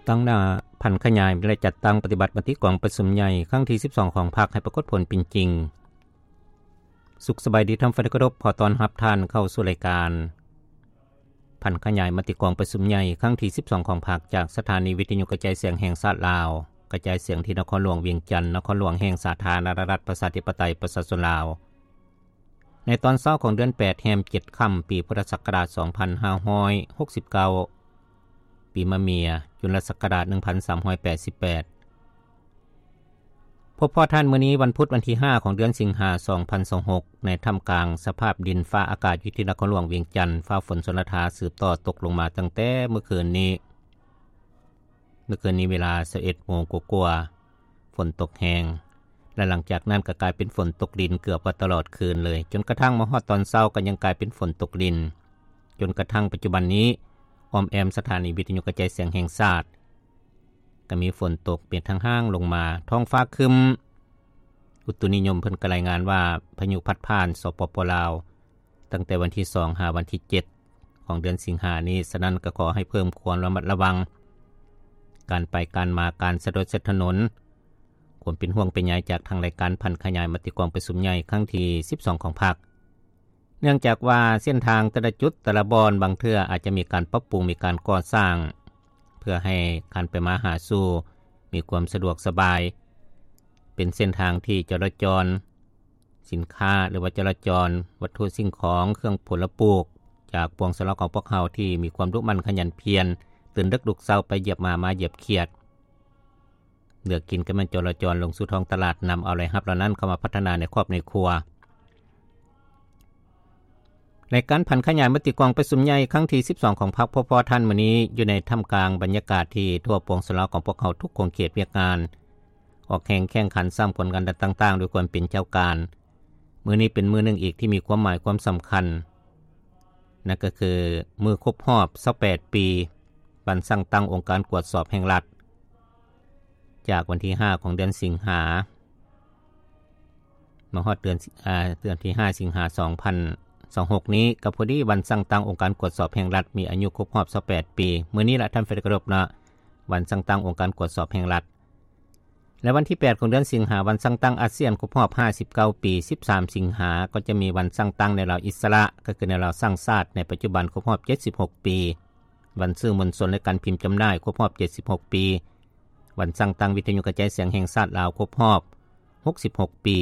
ຕັ້ງໜ້າຜັນຂະຫຍາຍ ແລະ ຈັດຕັ້ງປະຕິບັດມະຕິກອງປະຊຸມໃຫຍ່ຄັ້ງທີສິບສອງຂອງພັກໃຫ້ປາກົດຜົນເປັນຈິງ. ສຸກສະບາຍດີທ່ານຜູ້ທີ່ເຄົາລົບ, ຂໍຕ້ອນຮັບທ່ານເຂົ້າສູ່ລາຍການຜັນຂະຫຍາຍມະຕິກອງປະຊຸມໃຫຍ່ຄັ້ງທີສິບສອງຂອງພັກ ຈາກສະຖານີວິທະຍຸກະຈາຍສຽງແຫ່ງຊາດລາວ, ກະຈາຍສຽງທີ່ນະຄອນຫຼວງວຽງຈັນ, ນະຄອນຫຼວງແຫ່ງສາທາລະນະລັດ ປະຊາທິປະໄຕ ປະຊາຊົນລາວ. ໃນຕອນເຊົ້າຂອງເດືອນແປດ ແຮມເຈັດຄ່ຳ ປີພຸດທະສັກກະລາດສອງພັນຫ້າຮ້ອຍຫົກສິບເກົ້າ ປີມະເມຍ ຈຸນລະສັກກະລາດໜຶ່ງພັນສາມຮ້ອຍແປດສິບແປດ. ພົບພໍ້ທ່ານມື້ນີ້ ວັນພຸດ ວັນທີຫ້າຂອງເດືອນສິງຫາ ສອງພັນຊາວຫົກ ໃນທ່າມກາງສະພາບດິນຟ້າອາກາດຢູ່ທີ່ນະຄອນຫຼວງວຽງຈັນ, ຟ້າຝົນຊົນລະທາສືບຕໍ່ຕົກລົງມາຕັ້ງແຕ່ມື້ຄືນນີ້. ເມື່ອຄືນນີ້ເວລາຊາວເອັດໂມງກວ່າໆ ຝົນຕົກແຮງ ແລະ ຫຼັງຈາກນັ້ນກໍກາຍເປັນຝົນຕົກລິນເກືອບວ່າຕະຫຼອດຄືນເລີຍ, ຈົນກະທັ້ງມາຮອດຕອນເຊົ້າກໍຍັງກາຍເປັນຝົນຕົກລິນ, ຈົນກະທັ້ງປັດຈຸບັນນີ້ ອ້ອມແອ້ມສະຖານີວິທະຍຸກະຈາຍສຽງແຫ່ງຊາດ ກໍມີຝົນຕົກເປັນທາງຫ້າງລົງມາ, ທ້ອງຟ້າຄຶ້ມ. ອຸຕຸນິຍົມເພິ່ນກໍລາຍງານວ່າ ພາຍຸພັດຜ່ານ ສປປ ລາວ ຕັ້ງແຕ່ວັນທີສອງ ຫາວັນທີເຈັດ ຂອງເດືອນສິງຫານີ້, ສະນັ້ນກໍຂໍໃຫ້ເພີ່ມຄວາມລະມັດລະວັງ ການໄປການມາ, ການສະດວກເສັ້ນຖະໜົນ. ຄວາມເປັນຫ່ວງເປັນໃຍຈາກທາງລາຍການຜັນຂະຫຍາຍມະຕິກອງປະຊຸມໃຫຍ່ຄັ້ງທີສິບສອງຂອງພັກ, ເນື່ອງຈາກວ່າເສັ້ນທາງແຕ່ລະຈຸດແຕ່ລະບ່ອນ ບາງເທື່ອອາດຈະມີການປັບປຸງ, ມີການກໍ່ສ້າງ ເພື່ອໃຫ້ການໄປມາຫາສູ່ມີຄວາມສະດວກສະບາຍ, ເປັນເສັ້ນທາງທີ່ຈະລາຈອນ ສິນຄ້າ ຫຼືວ່າຈະລາຈອນວັດຖຸສິ່ງຂອງ, ເຄື່ອງຜົນລະປູກ ຈາກປວງຊະລາວຂອງພວກເຮົາທີ່ມີຄວາມດຸໝັ່ນຂະຫຍັນພຽນ, ຕື່ນດຶກລຸກເຊົ້າໄປຢຽບໝາ, ມາຢຽບຂຽດ, ເລືອກກິນກໍແມ່ນຈະລາຈອນລົງສູ່ທ້ອງຕະຫຼາດ, ນຳເອົາລາຍຮັບເຫຼົ່ານັ້ນເຂົ້າມາພັດທະນາໃນຄອບໃນຄົວ. ໃນການຜັນຂະຫຍາຍມະຕິກອງປະຊຸມໃຫຍ່ຄັ້ງທີສິບສອງຂອງພັກ ພໍ້ໆ ທ່ານມື້ນີ້ ຢູ່ໃນທ່າມກາງບັນຍາກາດທີ່ທົ່ວປວງຊະລາວຂອງພວກເຮົາທຸກຂົງເຂດວຽກງານ ອອກແຮງແຂ່ງຂັນສ້າງຜົນງານຕ່າງໆ ດ້ວຍຄວາມເປັນເຈົ້າການ. ມື້ນີ້ເປັນມື້ໜຶ່ງອີກທີ່ມີຄວາມໝາຍຄວາມສຳຄັນ, ນັ້ນກໍຄືມື້ຄົບຮອບຊາວແປດປີ ວັນສ້າງຕັ້ງອົງການກວດສອບແຫ່ງລັດ, ຈາກວັນທີຫ້າຂອງເດືອນສິງຫາ ມາຮອດເດືອນ ອາ ເດືອນທີຫ້າສິງຫາ ສອງພັນຊາວຫົກນີ້ ກໍພໍດີວັນສ້າງຕັ້ງອົງການກວດສອບແຫ່ງລັດ ມີອາຍຸຄົບຮອບຊາວແປດປີ. ມື້ນີ້ລະທ່ານທີ່ເຄົາລົບເນາະ, ວັນສ້າງຕັ້ງອົງການກວດສອບແຫ່ງລັດ. ແລະ ວັນທີແປດຂອງເດືອນສິງຫາ ວັນສ້າງຕັ້ງອາຊຽນຄົບຮອບຫ້າສິບເກົ້າປີ, ສິບສາມສິງຫາ ກໍຈະມີວັນສ້າງຕັ້ງແນວລາວອິດສະຫຼະ ກໍຄືແນວລາວສ້າງຊາດ ໃນປັດຈຸບັນຄົບຮອບເຈັດສິບຫົກປີ, ວັນສື່ມວນຊົນ ແລະ ການພິມຈຳໜ່າຍຄົບຮອບເຈັດສິບຫົກປີ, ວັນສ້າງຕັ້ງວິທະຍຸກະຈາຍສຽງແຫ່ງຊາດລາວຄົບຮອບຫົກສິບຫົກປີ.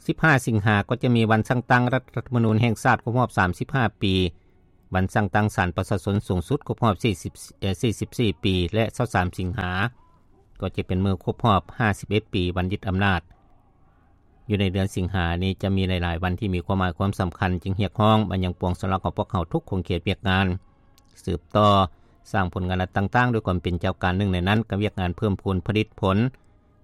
ສິບຫ້າສິງຫາ ກໍຈະມີວັນສ້າງຕັ້ງລັດ ລັດຖະທຳມະນູນແຫ່ງຊາດຄົບຮອບສາມສິບຫ້າປີ, ວັນສ້າງຕັ້ງສານປະຊາຊົນສູງສຸດຄົບຮອບສີ່ສິບ ເອີ ສີ່ສິບສີ່ປີ ແລະ ຊາວສາມສິງຫາ ກໍຈະເປັນມື້ຄົບຮອບຫ້າສິບເອັດປີວັນຍຶດອຳນາດ. ຢູ່ໃນເດືອນສິງຫານີ້ຈະມີຫຼາຍໆວັນທີ່ມີຄວາມໝາຍຄວາມສຳຄັນ, ຈຶ່ງຮຽກຮ້ອງມາຍັງປວງຊະລາວຂອງພວກເຮົາທຸກຂົງເຂດວຽກງານ ສືບຕໍ່ສ້າງຜົນງານລັດຕ່າງໆ ດ້ວຍຄວາມເປັນເຈົ້າການ. ໜຶ່ງໃນນັ້ນກໍວຽກງານເພີ່ມພູນຜະລິດຜົນ,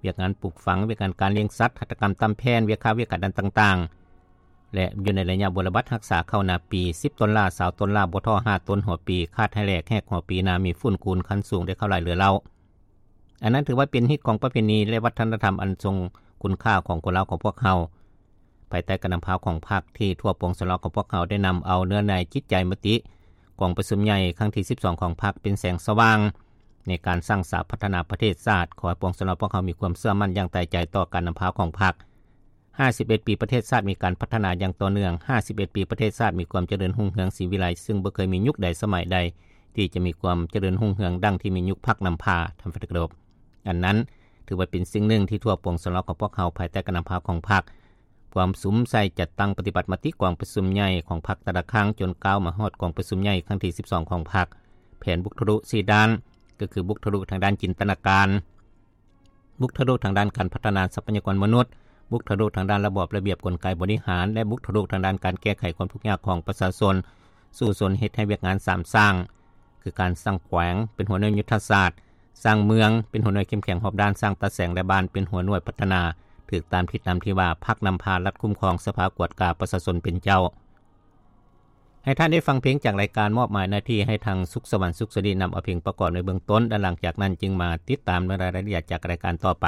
ວຽກງານປູກຝັງ, ວຽກງານການລ້ຽງສັດ, ຫັດຖະກຳຕຳແຜ່ນ, ວຽກຄ້າວຽກຂາຍດ້ານຕ່າງໆ ແລະ ຢູ່ໃນໄລຍະບົວລະບັດຮັກສາເຂົ້ານາປີ, ສິບຕົ້ນຫຼ້າ, ຊາວຕົ້ນຫຼ້າ, ບໍ່ທໍ້ຫ້າຕົ້ນຫົວປີ, ຂາດໃຫ້ແຫຼກ, ແຮກຫົວປີ, ນາມີຝຸ່ນ, ກູນຄັນສູງ, ໄດ້ເຂົ້າຫຼາຍເຫຼືອເຫຼົ່າ. ອັນນັ້ນຖືວ່າເປັນຮີດຄອງປະເພນີ ແລະ ວັດທະນະທຳອັນຊົງຄຸນຄ່າຂອງຄົນລາວຂອງພວກເຮົາ. ພາຍໃຕ້ການນຳພາຂອງພັກ ທີ່ທົ່ວປວງຊະລາວຂອງພວກເຮົາໄດ້ນຳເອົາເນື້ອໃນຈິດໃຈມະຕິກອງປະຊຸມໃຫຍ່ຄັ້ງທີສິບສອງຂອງພັກ ເປັນແສງສະຫວ່າງໃນການສ້າງສາພັດທະນາປະເທດຊາດ. ຂໍໃຫ້ປວງຊະລາວພວກເຮົາມີຄວາມເຊື່ອໝັ້ນຢ່າງຕາຍໃຈຕໍ່ການນຳພາຂອງພັກ. ຫ້າສິບເອັດປີປະເທດຊາດມີການພັດທະນາຢ່າງຕໍ່ເນື່ອງ, ຫ້າສິບເອັດປີປະເທດຊາດມີຄວາມຈະເລີນຮຸ່ງເຮືອງສີວິໄລ, ຊຶ່ງບໍ່ເຄີຍມີຍຸກໃດສະໄໝໃດທີ່ຈະມີຄວາມຈະເລີນຮຸ່ງເຮືອງດັ່ງທີ່ມີຍຸກພັກນຳພາ. ທ່ານທີ່ເຄົາລົບ, ອັນນັ້ນຖືວ່າເປັນສິ່ງໜຶ່ງທີ່ທົ່ວປວງຊະລາວຂອງພວກເຮົາ ພາຍໃຕ້ການນຳພາຂອງພັກ ພວມສຸມໃສ່ຈັດຕັ້ງປະຕິບັດມະຕິກອງປະຊຸມໃຫຍ່ຂອງພັກແຕ່ລະຄັ້ງ ຈົນກ້າວມາຮອດກອງປະຊຸມໃຫຍ່ຄັ້ງທີສິບສອງຂອງພັກ. ແຜນບຸກທະລຸສີ່ດ້ານ, ກໍຄືບຸກທະລຸທາງດ້ານຈິນຕະນາການ, ບຸກທະລຸທາງດ້ານການພັດທະນາຊັບພະຍາກອນມະນຸດ, ບຸກທະລຸທາງດ້ານລະບອບລະບຽບກົນໄກບໍລິຫານ ແລະ ບຸກທະລຸທາງດ້ານການແກ້ໄຂຄວາມທຸກຍາກຂອງປະຊາຊົນ, ສູ້ຊົນເຮັດໃຫ້ວຽກງານສາມສ້າງ ຄືການສ້າງແຂວງເປັນຫົວໜ່ວຍຍຸດທະສາດ, ສ້າງເມືອງເປັນຫົວໜ່ວຍເຂັ້ມແຂງຮອບດ້ານ, ສ້າງຕາແສງ ແລະ ບ້ານເປັນຫົວໜ່ວຍພັດທະນາ, ຖືກຕາມທິດນຳທີ່ວ່າ ພັກນຳພາ, ລັດຄຸ້ມຄອງ, ສະພາກວດກາ, ປະຊາຊົນເປັນເຈົ້າ. ໃຫ້ທ່ານໄດ້ຟັງເພງຈາກລາຍການ, ມອບໝາຍໜ້າທີ່ໃຫ້ທາງສຸກສະຫວັນ ສຸກສະດີ ນຳເອົາເພງປະກອບໃນເບື້ອງຕົ້ນ ແລະ ຫຼັງຈາກນັ້ນຈຶ່ງມາຕິດຕາມເນື້ອລາຍລະອຽດຈາກລາຍການຕໍ່ໄປ.